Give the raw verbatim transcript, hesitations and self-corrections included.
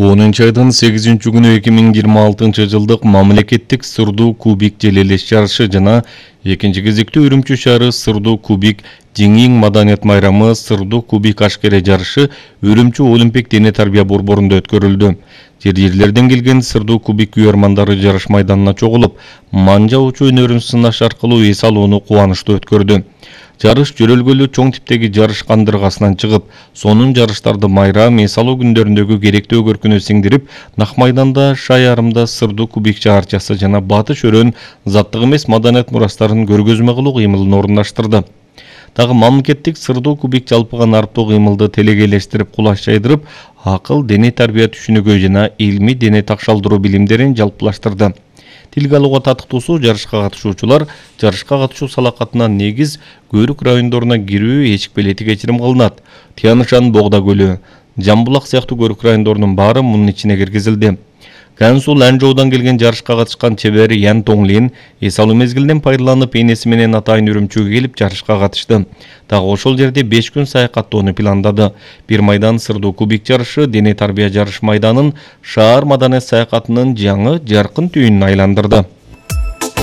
онунчу айдын сегизинчи күнү эки миң жыйырма алтынчы жылдык мамлекеттик сырдуу кубик желелеш жарышы жана экинчи кезекте Үрүмчү шаары сырдуу кубик Жеңиң маданият майрамы сырдуу кубик ашкере жарышы Үрүмчү Олимпик дене тарбия борборунда өткөрүлдү. Жер жерлерден келген сырдуу кубик күйөрмандары жарыш майданына чогулуп, манжа учуу өнөрүн сынаш аркылуу эс алууну кубанычтуу өткөрдү. Жарыш жөрөлгөлүү чоң типтеги жарыш кандыргасынан чыгып, сонун жарыштарды майрам, эс алуу күндөрүндөгү керектүү көркүнө сиңдирип, нак майданда Шай арымда сырдуу кубик шаарчасы жана Батыш өрөөнүн заттык эмес маданият мурастарын көргөзмө кылуу кыймылын орундаштырды. Дагы мамлекеттик сырдуу кубик жалпыга нарптуу кыймылды телегейлештирип, кулаш жайдырып, акыл, дене тарбия түшүнүгү жана илми дене такшалдыруу билимдерин жалпылаштырды. Тилге алууга татыктуусу жарышка катышуучулар жарышка катышуу салакатынан негиз Көрүк райондоруна кирүү эчик билети кечирим кылынат. Тянышан, Богда көлү, Жамбулак сыяктуу Көрүк райондорунун баары мунун ичине киргизилди. Кансул Анжоудан келген жарышка катышкан чебер Ян Тоңлин эс алуу мезгилинен пайдаланып, энеси менен атайын Үрүмчүгө келип жарышка катышты. Дагы ошол жерде беш күн саякаттоону пландады. Бир майдан сырдуу кубик жарышы дене тарбия жарыш майданын шаар маданият саякатынын жаңы жаркын түйүнүн айландырды.